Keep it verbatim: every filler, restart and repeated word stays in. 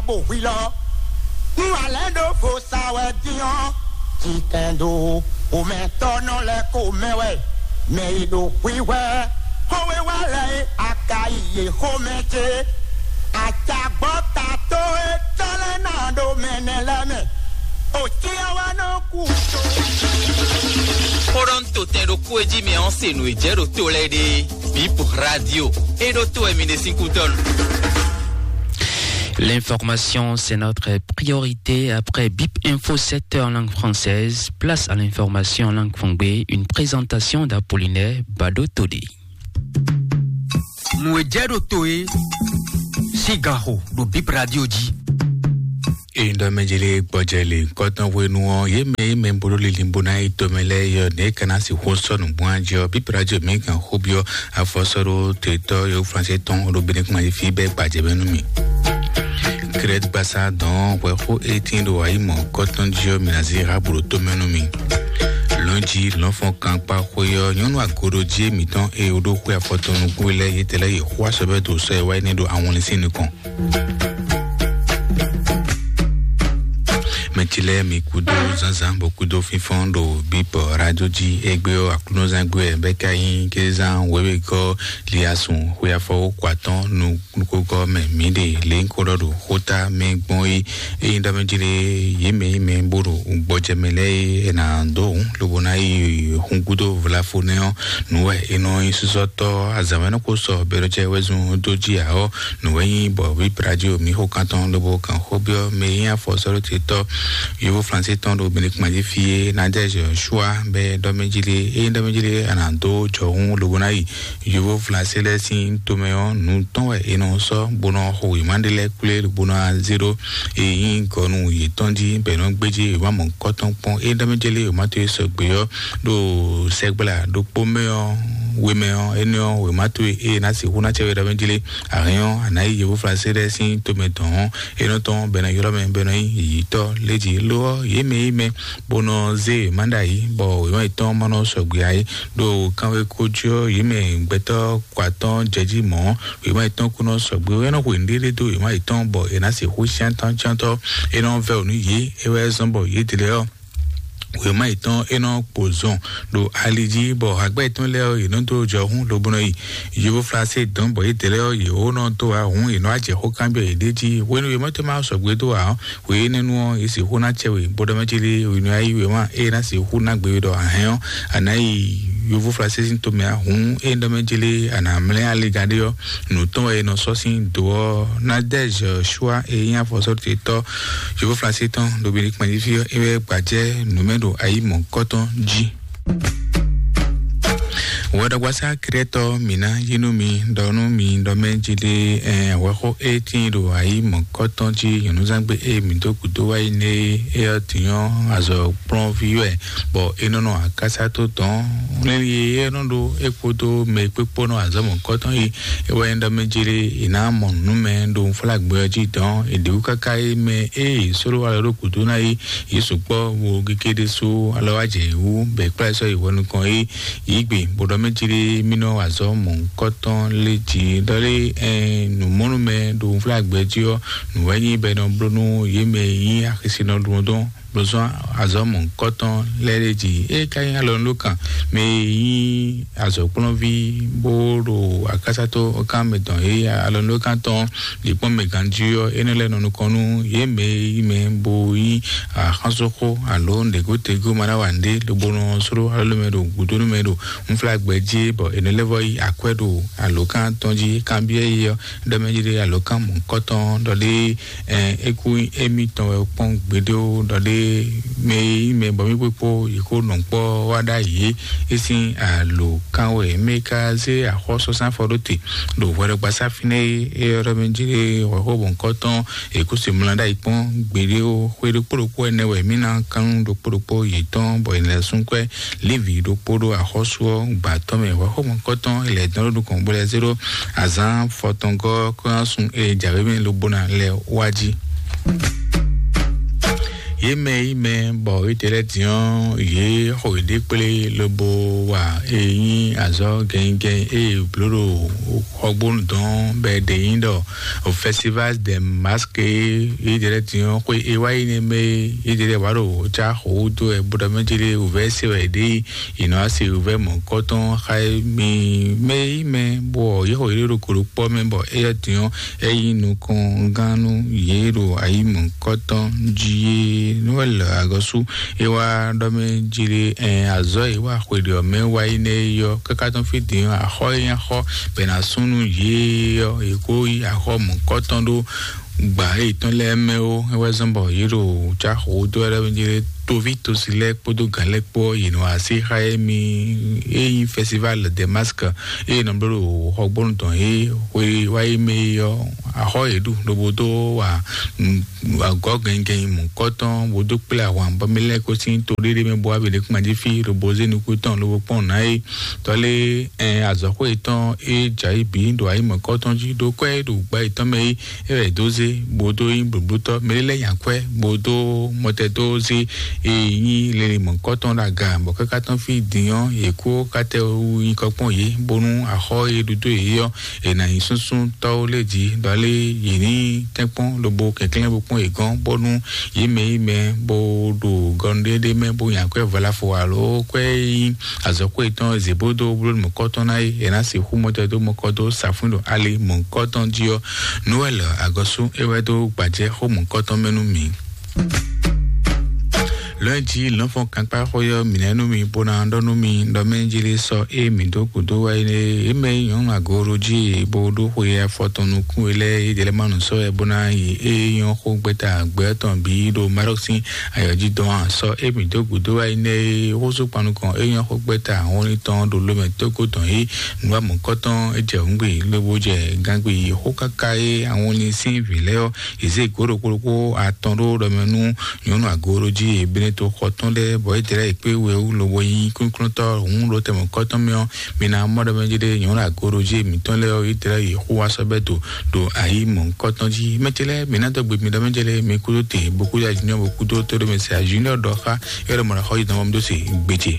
Kpo hwi lɔ, nú alɛ̌ ɖo vo sa wɛ dín ɔ́, cikɛndo xomɛtɔ́ nɔ lɛ́ ko mɛ wɛ, mɛ e ɖo hwíhwɛ́ xówéwá lɛ́ɛ e a ka yi yě xomɛ ce, acagbɔ́ ta tó e tɔ́ lɛ́ɛ ná ɖo mɛ nɛ́ lɛ́ɛ mɛ, o cyɔ wɛ nɔ kú tó. Xó ɖɔ un to tɛn ɖokpó e jí mi ɔ́ se nǔ e jɛ ɖo to lɛ́ɛ ɖe. Bip Radio, e ɖo to wɛ mi ɖe sín kútɔ́ nu. L'information, c'est notre priorité. Après Bip Info sept heures en langue française, place à l'information en langue fongbe, une présentation d'Apollinaire Bado Todé. Nǔ e jɛ ɖo to e sín ganxo ɖo Bip Radio jí. Ényí ɖɔ mɛ jeli gbɔjɛ le kɔtɔn hwenu ɔ́, yě mɛ e mɛ bó ɖó linlin bó ná yi tomɛ lɛ́ɛ yɔ nɛ̌ ka ná sixú sɔ́ nǔgbó jí ɔ́, Bip Radio mǐ kan xó byɔ́ afɔsɔ́ɖó tetɔ́ yo Flansé tɔn ɖo Benin kún ayi fí bɛ́ gbajɛ mɛ nú mì. Krɛt gbasa dɔn hwɛxó étín ɖo ayi mɔ kɔtɔn jí ɔ́, mǐ ná zí ha blo tomɛ nú mì. Lɔ̌njí lɔ̌nfɔn kankpa xwe ɔ́, nyɔ̌nu agoɖojí mǐtɔn e wó ɖó xwe afɔtɔn nukún lɛ́ɛ yětɛn lɛ́ɛ yě xó asɔbɛ́ dó sɔ́ e wá yi ní ɖo awɔnlín sín nukɔn. Mɛ ce lɛ́ɛ mi kúdó zǎnzǎn bɔ kúdó fínfɔ́n ɖo bíbɔ rájó jí. Égbé ɔ́, aklúnɔzán gbé wɛ bɛ́ ka nyí kézán wěwegɔ́ liasun xwe afɔwó kɔ atɔ́n nukúnkɔ́ mɛ mǐ ɖe lě nyí ko ɖɔ ɖo xóta mɛ gbɔn é. Ényí ɖɔ mɛ jlé yě mɛ yí mɛ bó ɖo gbɔjɛ mɛ lɛ́ɛ é, è nǎ dó hǔn lobo ná yi hun gúdo vlafo nɛ́ ɔ́, nǔ wɛ è nɔ nyí sísɔ́tɔ́ azǎn wɛ nɔ ko sɔ bɛɖɔjɛ wɛ zun dó jí ǎ ɔ́, nǔ wɛ nyí bɔ wíbradio mǐ xo kan tɔn lobo kan xó byɔ́ mɛ e nyí afɔsɔ́ɖótetɔ́ yovó Flansé tɔn ɖo Benin kpán jí fí é, Nadège Joshua bɛ ɖɔ mɛ jí lé, ényí ɖɔ mɛ jí lé a nǎ dó jɔhún lobo ná yi yovó Flansé lɛ́ɛ sín tomɛ ɔ́, nǔ tɔn wɛ è nɔ sɔ́ bó nɔ xo wěma ɖé lɛ́ɛ kplé bó nɔ zé ɖó e nyí gɔnu yětɔn jí bɔ è nɔ gbéjé wěma mɔ̌hunkɔtɔn kpɔ́n. Ényí ɖɔ mɛ jí lé wěma towe sɔgbe ɔ́ ɖo sɛgbla ɖokpó mɛ ɔ́, we mɛ ɔ́, énɛ́ ɔ́, wěma towe e ná sixú ná cɛ we ɖɔ mɛ jí lé. Ahɛn ɔ́, a nǎ yi yovó Flansé lɛ́ɛ sín tomɛ dɔn ɔ́, é nɔ tɔn bɔ è nɔ ylɔ́ mɛ bɔ è nɔ nyí yǐyítɔ́ lé jí. Lo ɔ́, yě mɛ yí mɛ bó nɔ zé wěma ɖ'ayǐ, bɔ wěma yětɔn ma nɔ sɔgbe ǎ é. Ɖo kanwekó jí ɔ́, yě mɛ gbɛtɔ́ kɔ atɔ́ jɛ jí mɔ̌, wěma yětɔn kún nɔ sɔgbe. É nɔ xwe nǔɖéɖé dó wěma yětɔn, bɔ è nǎ sixú cyán tɔn cyán tɔ́. É nɔ vɛ́ wǔ nú yě, é wɛ zɔ́n bɔ yědɛɛ ɔ́, wěma yětɔn é nɔ kpo zɔn ɖo ali jí, bɔ hagbɛ́ yětɔn lɛ́ɛ ɔ́, yě nɔ dó jɔhún lobo nɔ yi yovó Flansé dɔn, bɔ yědɛɛ ɔ́, yě wó nɔ dó wá hǔn, yě nɔ wá jɛ xó kanbyɔ́ yěɖée jí. Hwenu e mɔ̌ tɔn ma sɔgbe dó ǎ ɔ́, hwe énɛ́ nu ɔ́, yě sixú ná cɛ we, bó ɖɔ mɛ jí lé, hwenu e a yí wěma ée ná sixú ná gbe we ɖɔ a hɛn ɔ́, a nǎ yi yovó Flansé sín tomɛ ǎ. Hǔn ée ɖɔ mɛ jí lé, a nǎ mlɛ́ ali gán ɖé ɔ́, nǔ tɔn wɛ è nɔ sɔ́ sín do ɔ́. Nadège Joshua e nyí afɔsɔ́tetɔ́ yovó Flansé tɔn ɖo Benin kpán jí fí ɔ́, é wɛ gbajɛ nǔ mɛ ɖo ayi mɔ̌hunkɔtɔn jí. Wɛɖɔgbasá Krɛtɔ mǐ ná yí nú mi ɖɔ nú mi ɖɔ mɛ jí ɖé, ɛn, hwɛxó e tíin ɖo ayi mɔ̌kɔtɔn jí nyɔ̌nuzangbe e mǐ dó gǔdo wá yi nɛ é ɔ́ din ɔ́, azɔ̌ kplɔ́nví wɛ, bɔ é nɔ nɔ akásá tó dɔn. Lɛ́nlí e é nɔ ɖó é kpódó mɛ e kpékpó nɔ azɔ̌ mɔ̌kɔtɔn yi é wɛ nyí ɖɔ mɛ jí ɖé è nǎ mɔ nǔ mɛ ɖo unflágbɛ ɔ́ jí dɔn è ɖě wú káká é mɛ e è sló alɔ ɖó gǔdo ná yi. Yě sukpɔ́ bo gégé ɖésú alɔ wá jɛ yě wú, bɔ è kplá yě sɔ́ yi hwɛ nukɔn é yě gbe, bó ɖɔ mɛ jí ɖé mì nɔ wa azɔ̌ mɔ̌hunkɔtɔn lé jí ɖɔ lé, ɛn, nǔmɔnúmɛ ɖo unflágbɛ jí ɔ́, nǔ wɛ nyí bɔ è nɔ bló nú yě mɛ e nyí axisinɔ ɖuɖɔdɔn bló zɔ́n azɔ̌ mɔ̌hunkɔtɔn lɛ́ɛ ɖé jí. É ka nyí alɔnulókan mɛ e nyí azɔ̌kplɔ́nví bó ɖo akásátɔ́ kan mɛ tɔn e alɔnulókan tɔn ɖě kpɔ́n mɛ ganjí ɔ́, énɛ́ lɛ́ɛ nɔ nukɔn nú yě mɛ e yí mɛ bo nyí axɔ́súxó alo nǔɖégótegó ma ná wa nǔɖé lobo nɔ sló alɔlɔ́mɛ ɖo gǔdónúmɛ ɖo unflágbɛ jí, bɔ è nɔ lɛ́ vɔ́ yí akwɛ́ ɖo alǒkan tɔn jí. Kanbyɔ́ yí ɔ́, ɖɔ mɛ jí ɖé alǒkan mɔ̌hunkɔtɔn ɖɔ ɖé, ɛn, é kú émítɔn wɛ kpɔ́n gbeɖé ó, ɖɔ ɖé mɛ e nyí mɛ bɔ mí kpékpó yě kó nɔ kpɔ́ wá ɖ'ayǐ é, é sín alǒkan wɛ. Mɛ e ka zé axɔ́súzán fɔ ɖó te ɖo hwɛɖɔgbasá fínɛ́ é, é ɔ́ ɖɔ mɛ jí ɖé hwɛxó mɔ̌hunkɔtɔn è kú se mlá ɖ'ayǐ kpɔ́n gbeɖé ó. Xwe ɖokpó ɖokpó ɛnɛ wɛ mí ná kán nú ɖokpó ɖokpó yětɔn, bɔ è nɔ lɛ́ sú kwɛ́ Lévi ɖokpó ɖó axɔ́sú ɔ́ gba tɔn mɛ. Hwɛxó mɔ̌hunkɔtɔn è lɛ́ dɔn ɖó nukɔn bó lɛ́ zé ɖó azǎn fɔtɔngɔ́ kɔ́ ná sun e jǎwe mɛ lobo ná lɛ́ wá jí. Yě mɛ yí mɛ bɔ yě tɛ lɛ́ diɔ́n yě xɔ yěɖée kplé lobo wa e nyí azɔ̌ gɛngɛn e bló ɖo xɔgbónu dɔn bɛ ɖe nyí ɖɔ festival de masque yé ɖe lɛ́ diɔ́n xwe e wá yi nɛ mɛ yé ɖe lɛ́ wá ɖo ca xɔ wúdo ɛ bó ɖɔ mɛ jélé wǔvɛ́ se wɛ ɖe yě nɔ asi wǔvɛ́ mɔ̌kɔtɔn xa mi mɛ yí mɛ bɔ yě xɔ yě ɖo koɖo kpɔ́ mɛ bɔ éyɛ́ diɔ́n é nyí nukɔngán nú yě ɖo ayi mɔ̌kɔtɔn jí é nú é lɛ agɔ́sú é wá ɖɔ mɛ jí lé ɛn azɔ́ é wá xwe ɖě ɔ́ mɛ wá yi nɛ é yɔ káká tɔn fí din ɔ́ axɔ́ é nyí axɔ́ bɛ ná sún nú yě ɔ́ é kó yi axɔ́ mɔ̌kɔtɔn ɖó gbà é tɔn lɛ́ɛ mɛ ó é wá zɔ́n bɔ yě ɖo cáxo dó wɛ ɖɔ mɛ jí lé toví tosi lɛ́ɛ kpódó gǎn lɛ́ɛ kpó yě nɔ así xa é mi é nyí festival de masque é nɔ bló ɖo xɔgbónu tɔn é xwe wá yi mɛ é yɔ axɔ́ yě ɖu lobo dó wa agɔ́ gɛngɛn mɔ̌kɔtɔn bó dó kplé ahwan bɔ mɛ lɛ́ɛ kó sín to ɖéɖé mɛ bó wá bǐ ɖé kpán jí fí lobo zé nukú tɔn lobo kpɔ́n nǎ é tɔ́lé ɛn azɔ̌xwé tɔn é jǎ yi bǐ ɖo ayǐ mɔ̌kɔtɔn jí ɖó kwɛ́ ɖo gbá yětɔn mɛ é é wɛ dó zé bó dó nyí blǒblótɔ́ mɛ lɛ́ nya kwɛ́ bó dó mɔtɛ dó zé é nyí lele mɔ̌kɔtɔn ɖo aga bɔ káká tɔn fí din ɔ́ yě kó kátɛ wú nyí kɔkpɔ́n yě bónú axɔ́ é ɖu dó yě ɔ́ è nǎ nyí súnsúntɔ́wo lɛ́ɛ jí ɖɔ lé yě ní tɛ́nkpɔ́n lobo kɛnklɛ́n bo kpɔ́n yě gɔ́n bónú yě mɛ yí mɛ bó ɖo gɔnɖéɖé mɛ bó nya kwɛ́ valafo alo kwɛ́ yí azɔ̌xwé tɔn zěbódó bló mɔ̌kɔtɔn ná yí è nǎ sixú mɔtɛdó mɔkɔdó safún ɖo ali mɔ̌kɔtɔn jí ɔ́. Noɛl agɔ́sú é wɛ dó gbajɛ xó mɔ̌kɔtɔn mɛ nú mǐ. Lɔ̌nyijǐ lɔ̌nfɔn kankpá xó yɔ mǐnɛ́ nú mi bó ná ɖɔ nú mi ɖɔ mɛ jeli sɔ é mǐ dó gǔdo wá é mɛ nyɔ̌nu agoro jí bó ɖó xwe afɔtɔn nukún é lɛ́ɛ é jɛlɛ má nǔ sɔ́ wɛ bó ná yi é nyɔ́ xó gbɛ́ta gbɛ̌ tɔn bǐ ɖo Marɔk sín ayɔ́ jí dɔn ǎ. Sɔ é mǐ dó gǔdo wá é nɛ́ é xósú kpan nukɔn é nyɔ́ xó gbɛ́ta hɔnlin tɔn ɖo lomɛ tógó tɔn é nǔ wa mɔ̌kɔtɔn é jɛ hǔngbe lobo jɛ gangbe yi xó káká é ahɔnlin sín vǐ lɛ́ɛ ɔ́ yě zé gǒ ɖokpó ɖokpó atɔn ɖó ɖɔ mɛ nú nyɔ̌nu agoro jí e Beneto xɔ tɔn lɛ́ɛ bɔ é dlɛ́ yě kpé wɛ wú lobo nyí kúnkúntɔ́ hǔn ɖo tɛmɛ kɔ́tɔn mɛ ɔ́, mi ná mɔ ɖɔ mɛ jí ɖé nyɔ̌nu agoro jí e mǐtɔn lɛ́ɛ ɔ́, Izlayɛ́li xó wá sɔ́ bɛ́ do ɖo ayǐ mɔ̌hunkɔtɔn jí. Mɛ ce lɛ́ɛ, mi ná dɔgbe mi ɖɔ mɛ jɛ lɛ́ɛ mi kúdó te, bo kúdó ajínjɔ́n, bo kúdó tó ɖo mɛ se ajínjɔ́n ɖɔ xá é ɖɔ mɔ ɖɔ xɔ yi dɔn bɔ mi dó se gbèjè.